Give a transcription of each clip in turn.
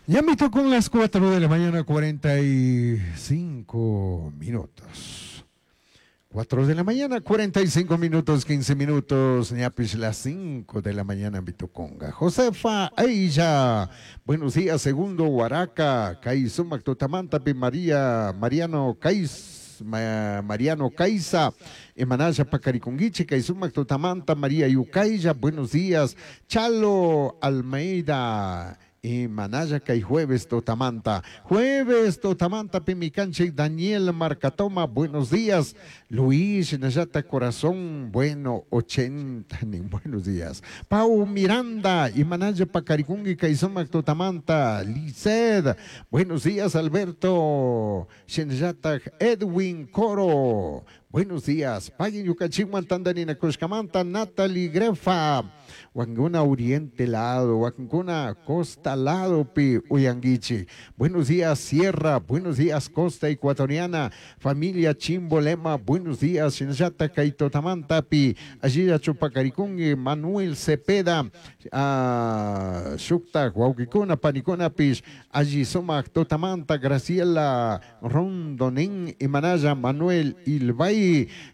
Ya me tocó las 4 de la mañana, 45 minutos. 4 de la mañana, 45 minutos, 15 minutos, ñapish las 5 de la mañana, Mituconga. Josefa Aisha, buenos días, segundo Huaraca, Kaisumac Tutamanta, María, Mariano Kais, Mariano Caiza, Emanaya Pacariconguiche, Kaisumac Tutamanta, María Yucaya, buenos días, Chalo Almeida, Manaya kay jueves totamanta. Jueves totamanta pimicanche Daniel Marcatoma, buenos días. Luis Nayata Corazón, bueno, 80, buenos días. Pau Miranda, y Manaya Pacaricungui, Kaisumac Totamanta, Liced, buenos días, Alberto Shenayata Edwin Coro. Buenos días. Paguen Yucachihuan Tandanina Cuscamanta, Natalie Grefa. Huanguna Oriente lado, Huanguna Costa lado, Pi Uyanguichi. Buenos días, Sierra. Buenos días, Costa Ecuatoriana. Familia Chimbolema. Buenos días, Shinayata Kaitotamanta, Pi. Allí Chupacaricungui, Manuel Cepeda. Shukta, Huauquicuna, Panicuna, Pish. Allí Sumac, Totamanta, Graciela Rondonín, Imanaya, Manuel Ilbay.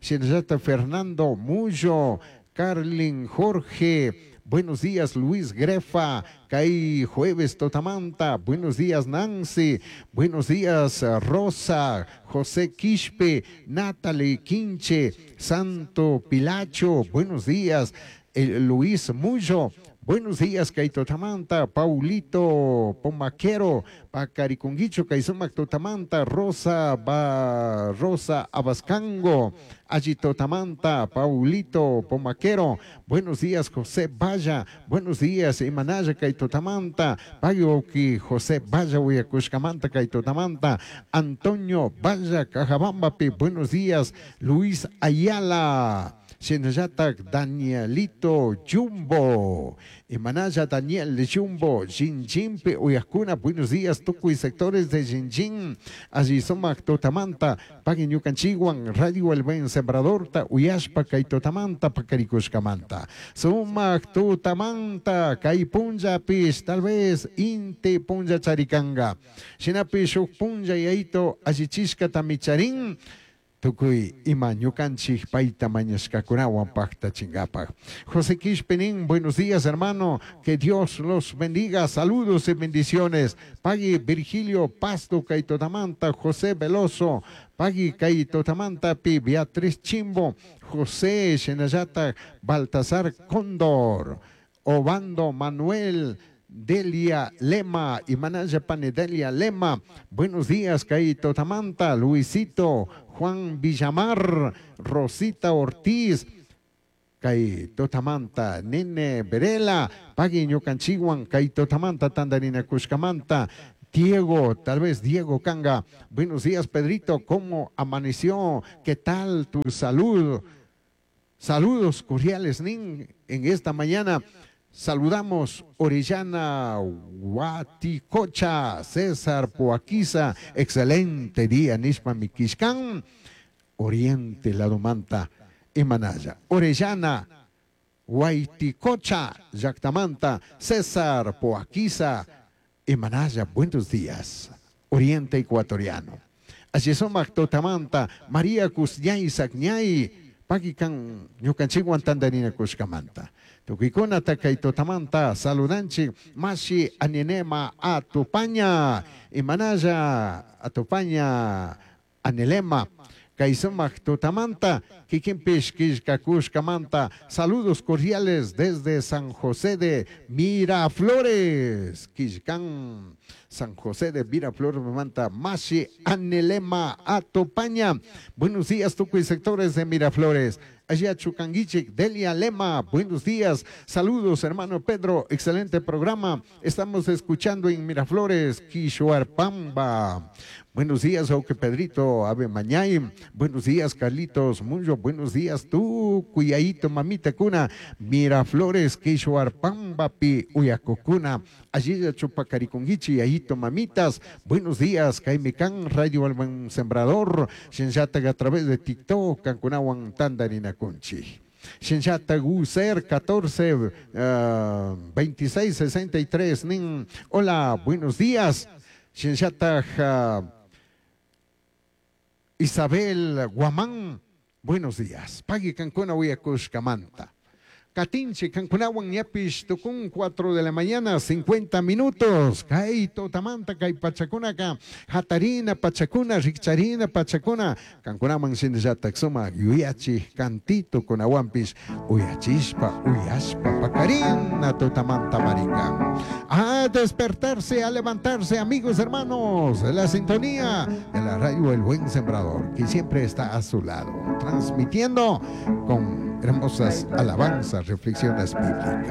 Shinayata Fernando Mullo, Carlin Jorge, buenos días Luis Grefa, Kai Jueves Totamanta, buenos días Nancy, buenos días Rosa, José Quispe, Natalie Quinche, Santo Pilacho, buenos días Luis Mullo, buenos días Kaito Tamanta, Paulito Pomaquero, Pacaricunguicho, Kaisumac Totamanta, Rosa ba, Rosa Abascango, Ayito Tamanta, Paulito Pomaquero, buenos días José Valla, buenos días Imanaya Kaito Tamanta, Payoki José Valla, Uyacushcamanta Kaito Tamanta, Antonio Valla, Cajabambapi, buenos días Luis Ayala. Shinayata Danielito Jumbo, Imanaya Daniel Jumbo, Jinjimpe, Uyacuna, buenos días, Tucuy, sectores de Jinjin, allí Somac, Totamanta, Paguen Yucanchiguan, Radio El Buen Sembrador, Uyashpa, Kaitotamanta, Pacaricushcamanta, Sumac, Totamanta, Caipunja, Pish, tal vez, Inte Punja Charicanga, Shinapish, Punja, Yaito, Allichishka, Tamicharín, Tukuy ima ñukanchik payta mañashkakunawan paqtachinkapak. José Quishpenín, buenos días hermano, que Dios los bendiga, saludos y bendiciones. Pagui Virgilio Pasto Kaitotamanta, José Veloso, Pagui Kaitotamanta, Pi Beatriz Chimbo, José Shenayata, Baltasar Cóndor, Obando Manuel, Delia Lema, y Manaya Pane Delia Lema, buenos días, Kaito Tamanta, Luisito, Juan Villamar, Rosita Ortiz, Kaito Tamanta, Nene Verela, Pagui Ñucanchiguan, Kaito Tamanta, Tandarina Cushcamanta, Diego, tal vez Diego Canga, buenos días, Pedrito, ¿cómo amaneció? ¿Qué tal tu salud? Saludos cordiales, Nin, en esta mañana. Saludamos Orellana Huaticocha, César Poaquiza, excelente día, Nishpa Miquishcan, Oriente Ladomanta, Imanaya. Orellana Huayticocha, Yactamanta, César Poaquiza, Imanaya, buenos días, Oriente Ecuatoriano. Así son Totamanta, María Cusñay Sacñay, Paquican, Ñucanchiguan Tandarina Cuscamanta. Tukikuna takaitotamanta saludanchi mashi aninema atupaña imanaya atupaña anilema kaisumak tutamanta kikinpish kishkakushkamanta saludos cordiales desde San José de Miraflores Kishkan San José de Miraflores manta mashi anilema atupaña. Buenos días tukuy sectores de Miraflores. Allá Chucanguiche, Delia Lema, buenos días, saludos hermano Pedro, excelente programa, estamos escuchando en Miraflores, Quishuarpamba. Buenos días, Oque Pedrito, Ave Mañay, buenos días, Carlitos Muyo, buenos días, tú, Cuyaito, Mamita Cuna, Miraflores, Quishuarpamba, Pi, Uyacocuna, allí Chupacaricunguichi, Ayito, Mamitas, buenos días, Caimicán, Radio Alban Sembrador, Shenshataga a través de TikTok, Cancunahuan, Tandarina Conchi. Shinllatak User 14 26 63 nin. Hola, buenos días. Shinllatak Isabel Guamán, buenos días. Pagui kankuna uyakushkamanta. Katinchi kankunawan ñapish tukun 4 de la mañana 50 minutos. Kay tutamanta kay pachakunaka hatarina pachakuna rikcharina pachakuna kankunaman shinallatak sumak yuyachi cantito kunawanpish uyachishpa uyashpa pakarina tutamanta marikan. A despertarse, a levantarse, amigos, hermanos, la sintonía de la radio El Buen Sembrador, que siempre está a su lado, transmitiendo con hermosas alabanzas, reflexiones bíblicas.